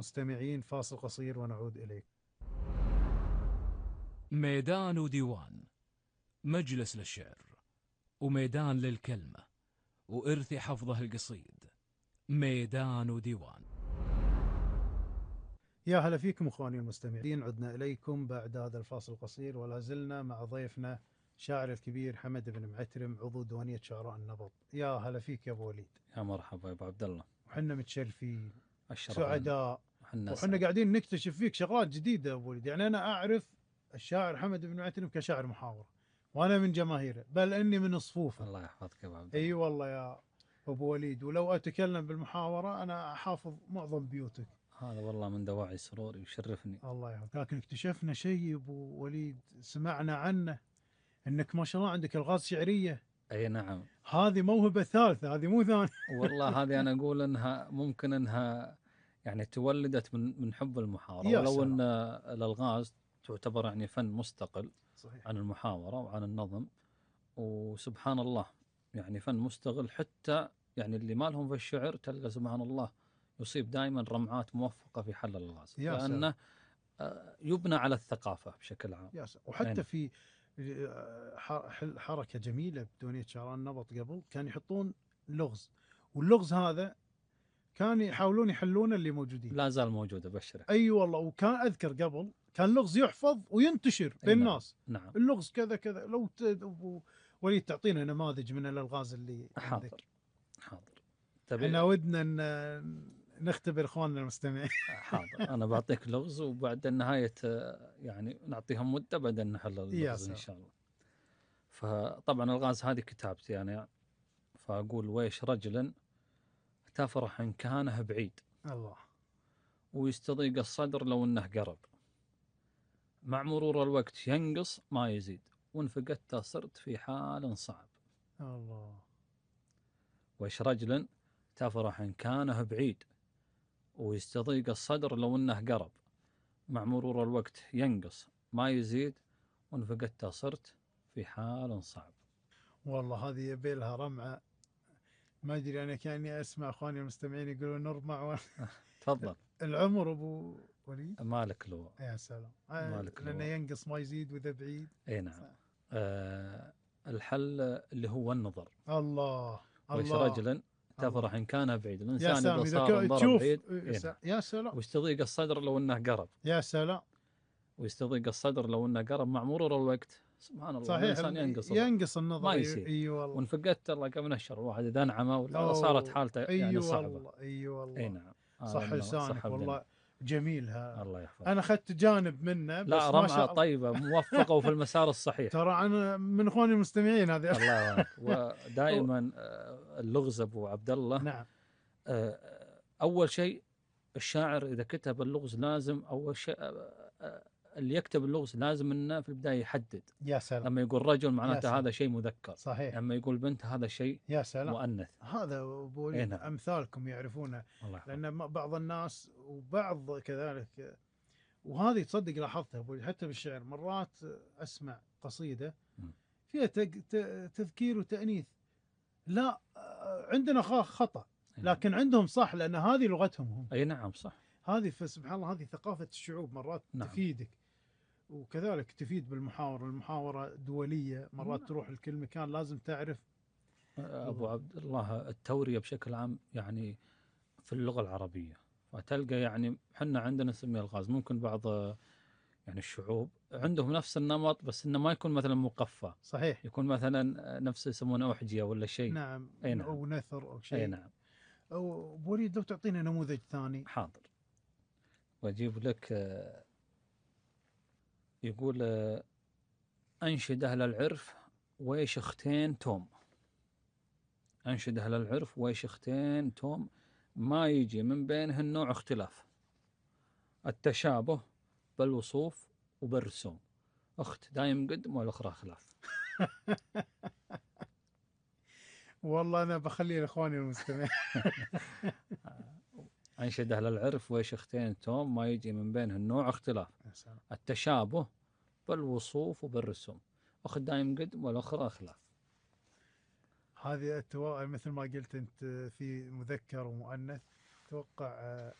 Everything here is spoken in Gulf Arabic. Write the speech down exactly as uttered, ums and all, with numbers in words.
المستمعين فاصل قصير ونعود إليك. ميدان وديوان، مجلس للشعر وميدان للكلمة وإرث حفظه القصيد. ميدان وديوان. يا هلا فيكم اخواني المستمعين، عدنا اليكم بعد هذا الفاصل القصير ولا زلنا مع ضيفنا شاعر الكبير حمد بن معترم عضو ديوانية شعراء النبض. يا هلا فيك يا ابو وليد. يا مرحبا يا ابو عبد الله. وحنا متشرفين الشرف سعداء وحنا وحنا قاعدين نكتشف فيك شغلات جديدة يا ابو وليد. يعني انا اعرف الشاعر حمد بن معترم كشاعر محاورة وانا من جماهيره، بل اني من صفوفه. الله يحفظك يا ابو عبد الله. اي أيوة والله يا ابو وليد، ولو اتكلم بالمحاورة انا احافظ معظم بيوتك. هذا والله من دواعي سروري ويشرفني. الله يحفظك. لكن اكتشفنا شيء يا ابو وليد سمعنا عنه، انك ما شاء الله عندك الغاز شعريه. اي نعم، هذه موهبه ثالثه، هذه مو ثانيه. والله هذه انا اقول انها ممكن انها يعني تولدت من من حب المحاوره، ولو ان الالغاز تعتبر يعني فن مستقل. صحيح. عن المحاوره وعن النظم، وسبحان الله يعني فن مستقل. حتى يعني اللي ما لهم في الشعر تلقى سبحان الله يصيب دائما رمعات موفقه في حل الالغاز، لانه يبنى على الثقافه بشكل عام. يا سلام. وحتى يعني في حركه جميله بديوانيه شعراء النبض قبل كان يحطون لغز، واللغز هذا كان يحاولون يحلون اللي موجودين. لا زال موجود ابشرك. اي أيوة والله. وكان اذكر قبل كان لغز يحفظ وينتشر بين نعم. الناس. نعم. اللغز كذا كذا. لو وليد تعطينا نماذج من الالغاز اللي حاضر عندك. حاضر. احنا ودنا نختبر اخواننا المستمعين. حاضر. انا بعطيك لغز وبعد نهايه يعني نعطيهم مده بعدين نحل اللغز ان شاء الله. فطبعا الغاز هذه كتابتي يعني. فاقول ويش رجل تفرح ان كانه بعيد، الله، ويستضيق الصدر لو انه قرب، مع مرور الوقت ينقص ما يزيد، وان فقدته صرت في حال صعب. الله. ويش رجل تفرح ان كانه بعيد، ويستضيق الصدر لو انه قرب، مع مرور الوقت ينقص ما يزيد، وان فقدته صرت في حال صعب. والله هذه يبي لها رمعه. ما ادري انا كاني اسمع اخواني المستمعين يقولون نرمع و... تفضل. العمر ابو وليد مالك لو. يا سلام. مالك لانه ينقص ما يزيد واذا بعيد. اي نعم. آه الحل اللي هو النظر. الله. ويش رجلا تفرح ان كان بعيد. الانسان اذا صار انضرب بعيد يا سلام. ويستضيق الصدر لو انه قرب. يا سلام. ويستضيق الصدر لو انه قرب، مع مرور الوقت سبحان الله. صحيح. الانسان ينقص ينقص النظر ما يصير. اي والله. وان فقدت الله كم نشر الواحد اذا انعمى ولا صارت حالته يعني صعبه. اي والله. اي نعم. صح لسانك والله. جميلها. الله يحفظك. انا اخذت جانب منه بس لا رمعه طيبه موفقه وفي المسار الصحيح. ترى انا من اخواني المستمعين هذه. الله يعافيك. ودائما اللغز ابو عبد الله. نعم. اول شيء الشاعر اذا كتب اللغز لازم اول شيء اللي يكتب اللغز لازم انه في البدايه يحدد. يا سلام. لما يقول رجل معناته هذا شيء مذكر. صحيح. لما يقول بنت هذا شيء يا سلام. مؤنث. هذا ابو وليد إيه نعم. امثالكم يعرفونه. لان بعض الناس وبعض كذلك، وهذه تصدق لاحظتها ابو وليد حتى بالشعر. مرات اسمع قصيده فيها تذكير وتانيث، لا عندنا خطا لكن عندهم صح، لان هذه لغتهم هم. اي نعم صح. هذه فسبحان الله هذه ثقافه الشعوب مرات. نعم. تفيدك وكذلك تفيد بالمحاورة. المحاورة دولية مرات. نعم. تروح لكل مكان لازم تعرف. أبو عبد الله التورية بشكل عام يعني في اللغة العربية، فتلقى يعني حنا عندنا نسميه الغاز. ممكن بعض يعني الشعوب عندهم نفس النمط بس إنه ما يكون مثلا مقفى. صحيح. يكون مثلا نفس يسمونه أحجية ولا شيء. نعم. أي نعم. أو نثر أو شيء. أي نعم. أو بوليد لو تعطينا نموذج ثاني. حاضر. وأجيب لك. يقول أنشد أهل العرف ويش اختين توم. أنشد أهل العرف ويش اختين توم، ما يجي من بينهن نوع اختلاف، التشابه بالوصوف وبالرسوم، أخت دايم قدم والأخرى خلاف. والله أنا بخلي لإخواني المستمعين. أنشد أهل العرف ويش اختين توم، ما يجي من بينهن نوع اختلاف، التشابه بالوصوف وبالرسوم، أخت دايم قدم والأخرى خلاف. هذه التوا... مثل ما قلت أنت في مذكر ومؤنث. توقع